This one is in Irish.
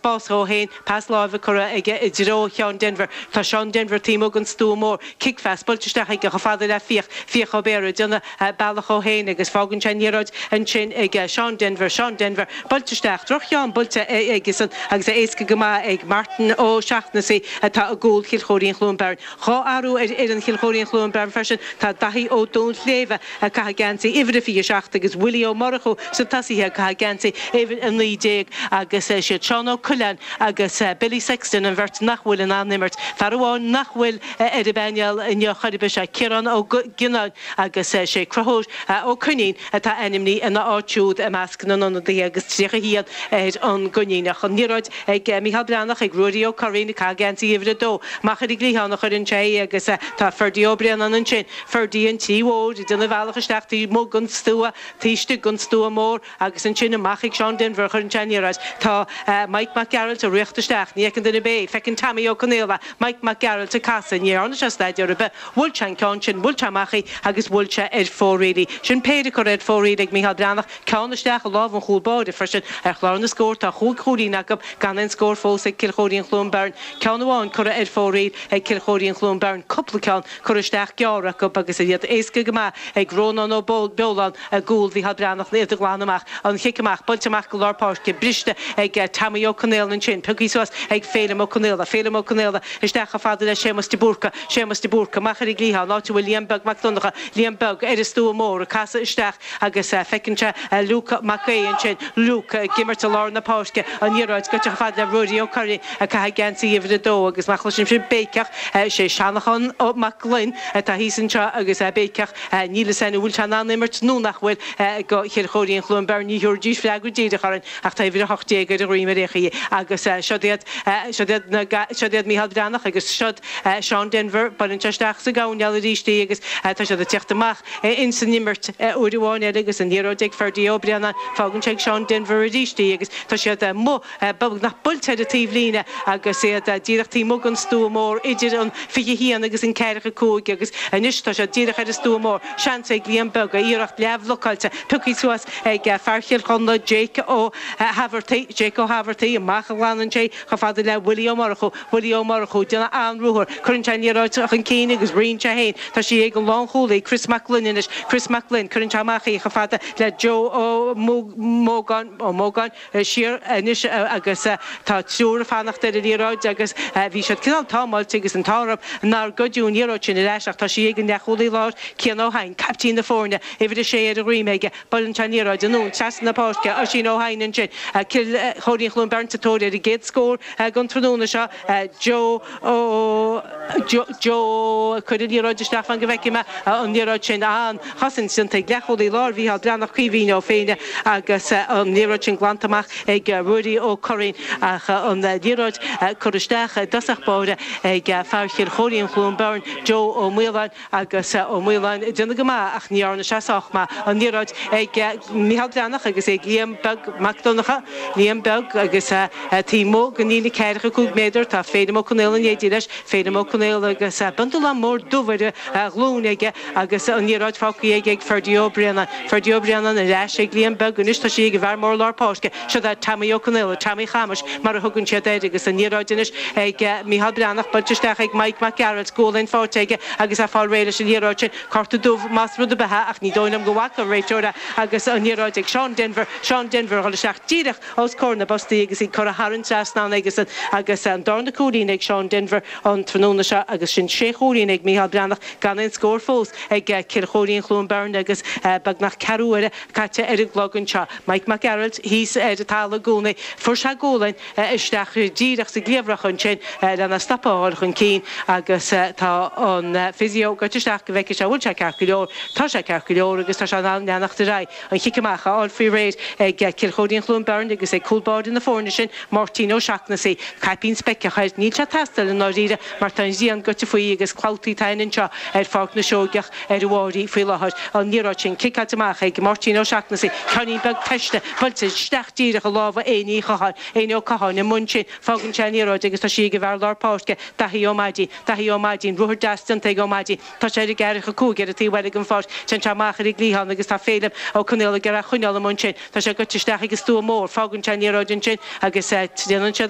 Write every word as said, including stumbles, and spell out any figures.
Spás dhó féin, pas láimhe curtha aige i dtreo Sheán Denvir. Tá Seán Denvir taobh amuigh den stua mór. Cic-phas buailte isteach aige chomh fada le Fiach, Fiach Ó Béarra ag déanamh bealach dhó féin agus fágann sé an liathróid ansin ag Seán Denvir, Seán Denvir buailte isteach, droch-cheann buailte aigesan agus é éasca go maith ag Martin Ó Seachnasaigh atá i gcúl Chill Chóirín Chluain Beirn. Dhá athrú ar fhoireann Chill Chóirín Chluain Beirn freisin, tá Daithí Ó Dúnshléibhe ag caitheamh geansaí uimhir a fiche a seacht agus Willie Ó Murchú sna tosaithe ag caitheamh geansaí uimhir a naoi déag agus siad Seán Ó Coileáin agus Billy Sexton an bheirt nach bhfuil in ann imirt. Fear amháin nach bhfuil ar an bpainéal inniu chor ar bith is ea Ciarán Ó Gionnáin agus sé Conchúr Ó Coinín atá ainmnithe ina áit siúd i measc na n-ionadaithe agus tríocha a haon ar an gCoiníneach. An liathróid ag Micheál Breathnach ag Ruairí Ó Curraoin ag caitheamh geansaí uimhir a dó. Amach ar an gcliathán a chuireann sé é agus tá Ferdie Ó Braonáin ansin. Ferdie an tí mhóir ag déanamh a bhealach isteach taobh amuigh den stua, taobh istigh den stua mór agus ansin amach ag Seán Denvir a chuireann sé an liathróid. Tá Mike Mac Gearailt ag riocht isteach, ní fheiceann duine ar bith é. Feiceann Tommy Ó Conaola Mike Mac Gearailt ag casadh, ní dhearna sé staidéar ar bith. Bhuail sé an ceann sin, bhuail sé amach í agus bhuail sé ar fóraoil í. Sin péire curtha ar fóraoil ag Micheál Breathnach, ceann isteach i lámh an chúl báire freisin. Ar chlár na scór tá chúig chúilín acu, gan aon scór fós ag Cill Chóirín Chluain Beirn. Ceann amháin curtha ar fóraoil ag Cill Chóirín Chluain Beirn, cúpla ceann curtha isteach gearr acu agus iad éasca go maith ag Rónán Ó Beoláin i gcúl Mhicheál Breathnach iad a ghlanadh amach. An chic amach, buailte amach go lár páirce, briste ag Tommy Ó Conaola ansin, pioctha suas ag Féilim Ó Conaola, Féilim Ó Conaola isteach chomh fada le Séamus de Búrca, Séamus de Búrca amach ar an gcliathán, áit a bhfuil Liam Beag Mac Donncha, Liam Beag ar an stua mór ag casadh isteach agus feiceann sé Luke Mac Aodha ansin, Luke ag imirt i lár na páirce, an liathróid gaibhte chomh fada le Ruairí Ó Curraoin ag caitheamh geansaí uimhir a dó agus má chloisim sibh béiceach, sé Seanachán Mac Gloinn atá thíos anseo agus é ag béiceach, níl fhios againn an bhfuil sé in ann imirt nó nach bhfuil do Chill Chóirín Chluain Beirn, ní thabharfaidís freagra díreach orainn ach tá uimhir a hocht déag ar a dhroim ar aon chaoi agus siod iad, siod iad na, siod iad Micheál Breathnach agus siod Seán Denvir, buaileann sé isteach sa gcoirnéal arís í agus tá siad ag teacht amach ins an imirt uair amháin eile agus an liathróid ag Ferdie Ó Braonáin, fágann sé ag Seán Denvir arís í agus tá siad amuigh beagnach buailte ar an taobhlíne agus iad díreach taobh amuigh den stua mór idir an fiche haon agus an ceathracha cúig agus anois tá siad díreach ar an stua mór. Seans ag Liam Beag, iarracht leathbhlocáilte, pioctha suas ag fear Chill Chonla, Jake Ó hEifeartaigh, Jake Ó hEifeartaigh, amach a ghlanann sé chomh fada le Willie Ó Murchú, Willie Ó Murchú, déanamh an-ruathar, cuireann sé an liathróid chun cinn agus ritheann sé féin, tá sí ag an lánchúlaí, Chris Mac Gloinn anois, Chris Mac Gloinn, cuireann sé amach í chomh fada le Joe Ó Mógáin, Ó Mógáin, siar anois agus tá triúr ag fanacht ar an liathróid agus bhí siad cineál támáilte agus an t-ádh orthu nár goideadh an liathróid sin ar ais ach tá sí ag an leathchúlaí láir, Cian Ó hEidhin, caiptín na foirne, uimhir a sé ar a dhroim aige, buaileann sé an liathróid anonn trasna na páirce, Oisín Ó hEidhin ansin, Cill Chóirín Chluain Beirn sa tóir ar an gcéad scór den tráthnóna seo, Joe Ó Joe ag cur an liathróid isteach fan go bhfeicfidh mé an liathróid sin, an-chosaint déanta ag leathchúlaí láir Mhícheál Breathnach, Caoimhín Ó Féinne agus an liathróid sin glanta amach ag Ruairí Ó Curraoin ach an liathróid curtha isteach i dtosach báire ag fear Chill Chóirín Chluain Beirn, Joe Ó Maoláin agus Ó Maoláin ag déanamh go maith ach ní dhearna sé sách maith. An liathróid ag Micheál Breathnach agus ag Liam Beag Mac Donncha, Liam Beag agus taobh amuigh den líne ceathracha cúig méadar tá Féilim Ó Conaola in éindí leis, Féilim Ó Conaola agus bundle mór dubh ar a ghlúin aige agus an liathróid fágtha aige ag Ferdie Ó Braonáin. Ferdie Ó Braonáin ar ais ag Liam Beag anois tá sí ag an bhfear mór lár páirce, siod é Tommy Ó Conaola, Tommy Chamais mar a thugann siad air agus an liathróid anois ag Micheál Breathnach buailte isteach ag Mike Mac Gearailt, gualainn faighte aige agus é ag fáil réidh leis an liathróid sin. Cárta dubh más rud ar bith é ach ní dóigh liom go bhfaca an réiteoir é agus an liathróid ag Seán Denvir, Seán Denvir a dhul isteach díreach os comhair na bpostaí agus í curtha thar an trasnán aigesan agus an darna cúilín ag Seán Denvir an tráthnóna seo agus sin sé chúilín ag Micheál Breathnach gan aon scór fós ag Cill Chóirín Chluain Beirn agus beagnach ceathrú uaire caite ar an gclog anseo. Mike Mac Gearailt thíos ar an talamh i gcónaí. Fuair sé gualainn isteach díreach sa gcliabhrach ansin lena stopadh a dhul chun cinn agus tá an physio gaibhte isteach go bhfeicfidh sé an bhfuil sé ceart go leor. Tá sé ceart go leor agus tá sé in ann leanacht ar aghaidh. An chic amach á fháil faoi réir ag Cill Chóirín Chluain Beirn agus ag cúl báire na foirne sin, Máirtín Ó Seachnasaigh. Caipín speiceach air. Níl sé ag teastáil i ndáiríre mar tá an ghrian gaibhte faoi agus clabhtaí atá anseo ar Pháirc na Seoigeach ar a bharraí faoi láthair. An liathróid sin ciceáilte amach ag Máirtín Ó Seachnasaigh. Ceainnín beag teiste buailte isteach díreach i lámha Éinní Uí Chatháin. Éinní Ó Catháin i mbun sin. Fágann sé an liathróid agus tá sí ag an bhfear lár páirce, Daithí Ó Maidín. Daithí Ó Maidín, ruathar deas déanta ag Ó Maidín. Tá sé ar an gceathracha cúig ar an taobh eile den pháirc. Téann sé amach ar an gcliathán agus tá Féilim Ó Conaola ag iarraidh a choinneáil amuigh ansin. Tá sé gaibhte isteach ag an stua mór. Fágann sé an liathróid ansin agus déanann siad.